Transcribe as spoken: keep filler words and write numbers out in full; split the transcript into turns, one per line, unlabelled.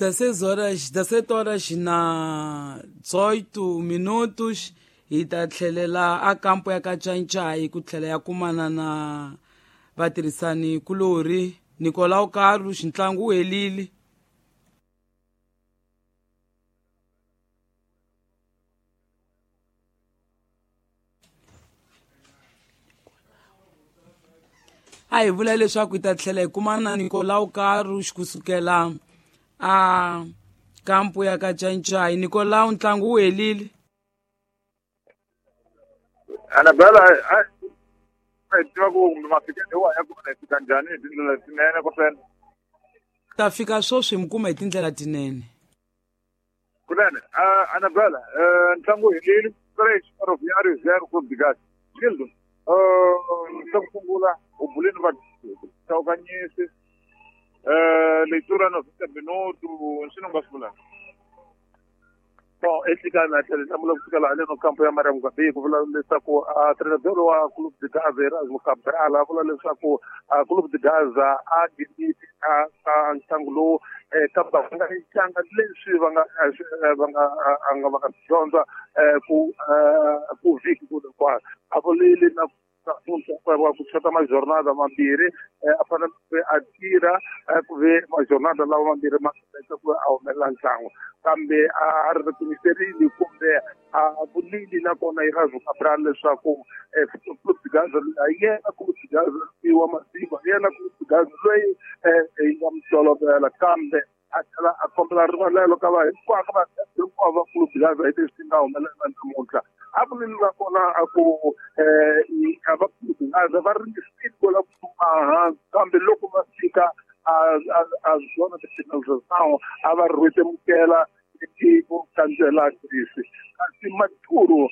dezesseis horas dezessete horas na dezoito minutos hi ta tlhelela a kampo ya ka Cancai ku tlhela ya kumana na vatirhisani kulorhi Nicolau Carlos ntlangu wu helile. A hi vula leswaku hi ta tlhela hi kumana na Nicolau Carlos kusukela a kampo ya ka Cancai. Nicolau, ntlangu wu helile.
Anabela, a hi tiva ku kumbe mafikelo wa ya kona hi fika njhani hi tindlela tinene kunene?
Ta fika sweswi mi kuma hi tindlela tinene.
Kunene, Anabela, ntlangu wu helile três Ferroviário zero Clube de Gás. Gildo, xa ku sungula u bulini va Chawukanyisi leitura noventa minuto nsini u nga swi vulaka?
Bom, exikarhi tlhela hlamula ku fikela haleno kampo ya Mariam Gabi ku vula leswaku treinador wa Clube de Gaza Erasmo Cabral a vula leswaku Clube de Gaza a nghenile a ntlangu lowu kambe va nga tlanga leswi va nga va nga a nga va nga dyondza ku ku vhiki ku hinkwayo a vulile na ku chota majornada mambirhi a fanele ku a tirha ku ve majornada lawa mambirhi ma ku a humelela ntlangu kambe a ri timiserile kumbe a vulile nakona Erasmo Cabral leswaku Clube de Gaza a yena Clube de Gaza wa masiku a yena Clube de Gaza loyi hi nga mi tolovela kambe a tlhela a kombela rivalelo ka va hinkwavo ka va hinkwavo va Clube de Gaza hi leswi nga humelela namuntlha. A vulile nakona a ku a va Clube de Gaza va ringesile ku lava ku tuma hansi kambe loko va fika a a zona de finalização a va rhwetemukela ku kandzela Greece kasi Maturu